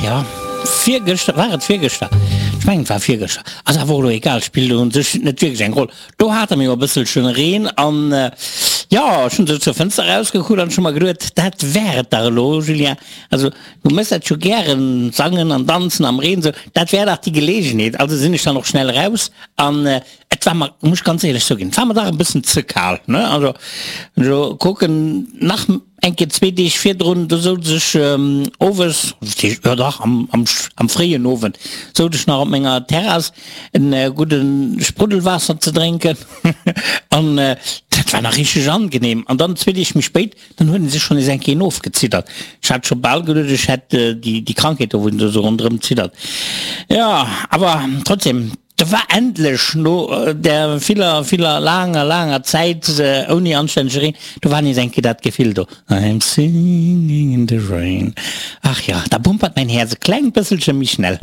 jo, virgëschter, war et virgëschter? Ech mengen et war virgëschter, ass awer och elo egal, spillt u sech net wierklech eng Roll. Do hate mir jo e bësselchen Reen an jo, ech hunn esou zur Fënster erausgekuckt an ech hu mer geduet, dat wär et dach elo, Julien, also du méchs dat jo gären, sangen an danzen am Reen esou, dat wär dach déi Geleegenheet. Also sinn ech dann och schnell eraus an et war mer, muss ech ganz éierlech zouginn, et war mer dach e bëssen ze kal, ne, also elo kucken nach. Eng Kéier zwee Deeg virdrun, do souz ech owes, jo dach, am fréien Owend, souz ech nach op menger Terrass en gudde Spruddelwaasser ze drénken an dat war nach richteg angenehm. An dann zwee Deeg méi spéit, dann huet en sech schonn nees eng Kéier ofgeziddert. Ech hat scho bal geduet, ech hätt déi Krankheet do, wou en esou ronderëm ziddert. Jo, awer trotzdem. Da war endlech, no där viller, viller laanger, laanger Zäit ouni anstännege Reen, do war nees eng Kéier dat Gefill do, I'm singing in the rain. Ach jo, da bumpert mäin Häerz e klengt bësselche méi schnell.